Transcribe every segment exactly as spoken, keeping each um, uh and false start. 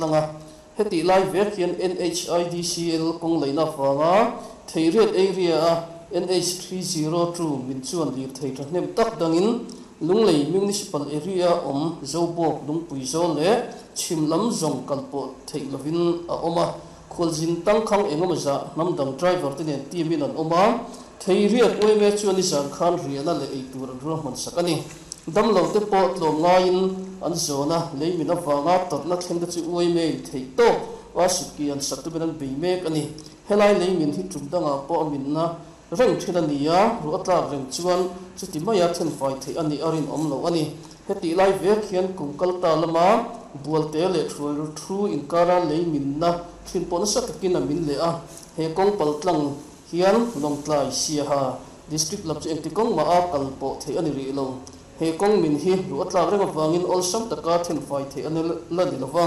tlanga heti lai vek hian N H I D C L kawng leina wanga Theiriat area a N H three zero two min chuan lir thei thahnem tak dangin Lunglei Municipal Area om Zobawk Lungpui zawl le Chhimlam zawng kalpawh theih lovin a awm a khualzin tangkhang engemaw zah hnamdang driver te nen team-in an awm a Theiriat U M A chuan ni zan khan riahna leh ei tur an ruahman sak a ni damlo te pawh tlawm ngaiin an zawna leimin avanga tawrhna thleng te chu U M A in theih tawk a sutki an sak tumin an bei mek a ni helai leimin hi tum dangah pawh a minna reng thin a ni a ruah tlak reng chuan chuti maia thenfai theih a ni a rin awm lo a ni heti lai vek hian kum kalta lama bualte leh thuai thu inkara leiminna thin pawh nasa takin a min leh a he kawng pal tlang hian Lawngtlai Siaha district lam chu engti kawng ma a kal pawh theih a ni rih lo he kawng min hi ruah tlak reng awangin awlsam taka thenfai theih a ni la ni lova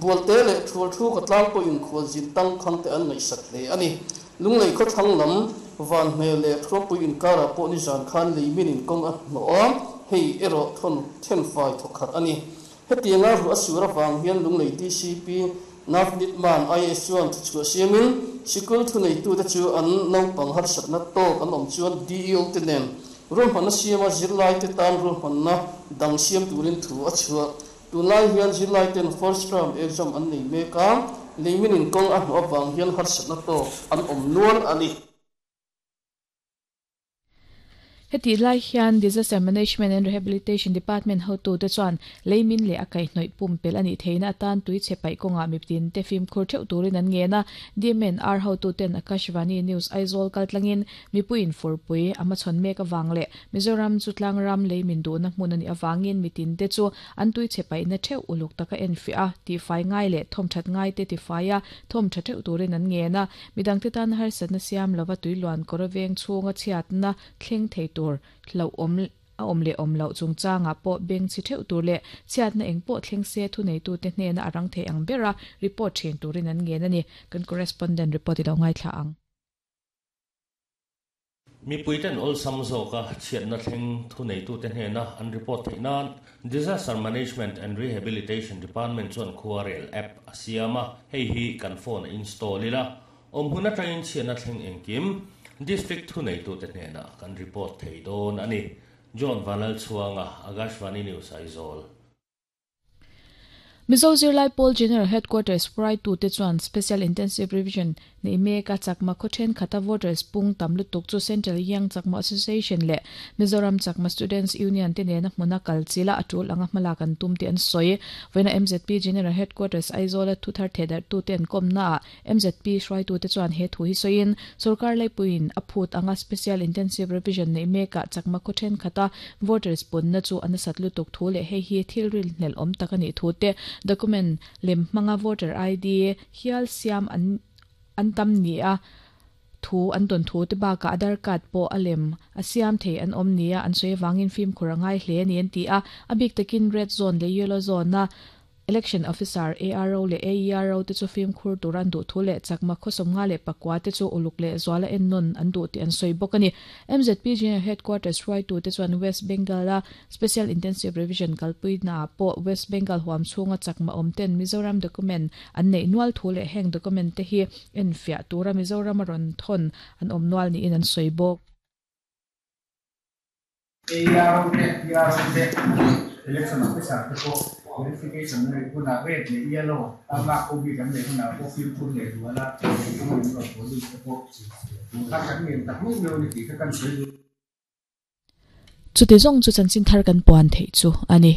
bualte leh thuai thu ka tlang pawh in khualzin tangkhang te an ngaihsak hle a ni Lunglei khaw thlang lam van hmel leh thuampui inkara pawh ni zan khan leimin in kawng a hnawh a hei erawh thon thenfai thawkhat a ni hetianga ruah sur awang hian Lunglei D C P Navneet Man I S chuan thuchhuah siamin sikul thunei tu te chu an naupang harsatna tawk an awm chuan D E O te nen ruahmanna siama zirlai te tan ruahmanna dang siam turin thu a chhuah tunlai hian zirlai ten first term exam an nei mek a leimin in kawng a hnawh awang hian harsatna tawk an awm nual a ni. Heti lai hian Disaster Management and Rehabilitation Department hotu te chuan leimin leh a kaihhnawih pumpel ani theina atan tui che paih kawnga mitin te fim khur theuh turin an ngen a D M N R hotu ten Akashvani News Aizawl kaltlangin mipuiin furpui ama chhawn mek awang leh Mizoram chu tlangram leimin duhna hmun ani awangin mitin te chu an tui che paihna theuh uluk taka en fi a ti fai ngai leh thawm that ngai te ti fai a thawm tha theuh turin an ngen a midang te tan harsatna siam lova tuiluan kawr veng chhunga chhiatna thleng thei tur lo om a om le om lo chungchanga pawh beng chi theuh tur leh chhiatna eng pawh thleng se thu nei tu te hnena arang thei ang bera report thin turin an ngen ani kan correspondent report i lo ngai thla ang. Mi puiten ol samzo ka chhiatna thleng thu nei tu te hnena an report theih nan Disaster Management and Rehabilitation Department chuan khuarel app a siama hei hi kan phone install ila om huna train chhiatna thleng engkim District thu nei tu te hnena kan report thei dawn ani John Vanal Chuanga Akashvani News Aizawl. Mizo Zirlai Pawl General Headquarters Pride tu te chuan Special Intensive Revision nei meka chakma khawthen khata voters pung tam lutuk chu Central Young Chakma Association le Mizoram Chakma Students Union te nena hmuna kalchila atul anga hmala kan tum te an soi vena M Z P General Headquarters Aizawl thu thar thedar tu ten komna M Z P hruai tu te chuan he thu hi soin sarkar laipuin aphut anga Special Intensive Revision nei meka chakma khawthen khata voters pun na chu anasat lutuk thu le he hi thilril hnel om takani thu te document lem manga voter I D hial siam an an tam ni a thu an ton thu te ba ka Aadhaar card po alem a siam thei an om nia an soi wangin film khurangai hle ni an ti a abik takin red zone le yellow zone na election officer A R O le A E R O te chu film khur turan du thu le chakma khosom nga le pakwa te chu uluk le zwala en non an du ti an soi bokani M Z P General Headquarters right tu te chuan West Bengal a Special Intensive Revision kalpui na po West Bengal huam chunga chakma omten Mizoram document an nei nual thu le heng document te hi en fia tura Mizoram ron thon an om nual ni in an soi bok. A E R O te P R O te election officer te po verification nei huna red le yellow ama ko bi kan nei huna ko film phun le wala ko ni ro police te po ka kan ngen tak mu ni ti ka kan soi chu te zong chu chanchin thar kan puan thei chu ani.